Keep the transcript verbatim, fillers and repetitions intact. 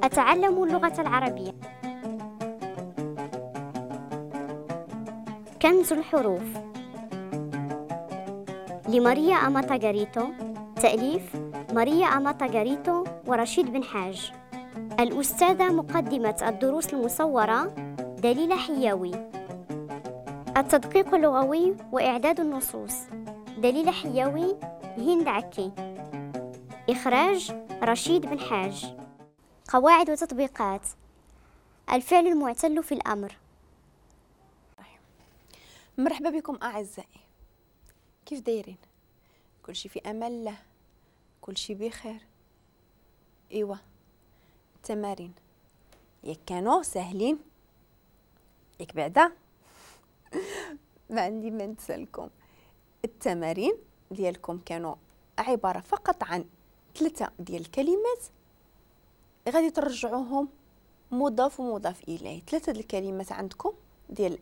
أتعلم اللغة العربية. كنز الحروف لماريا أماتا غاريتو، تأليف ماريا أماتا غاريتو ورشيد بن حاج. الأستاذة مقدمة الدروس المصورة دليلة حياوي. التدقيق اللغوي وإعداد النصوص دليلة حياوي، هند عكي. إخراج رشيد بن حاج. قواعد وتطبيقات الفعل المعتل في الأمر. مرحبا بكم أعزائي، كيف دايرين؟ كلشي في أمان الله، كلشي بخير. إيوا التمارين ياك كانوا ساهلين ياك بعدا؟ ما عندي ما نتسالكم. التمارين ديالكم كانوا عبارة فقط عن ثلاثة ديال الكلمات غادي ترجعوهم مضاف ومضاف إليه. ثلاثة ديال الكلمات عندكم ديال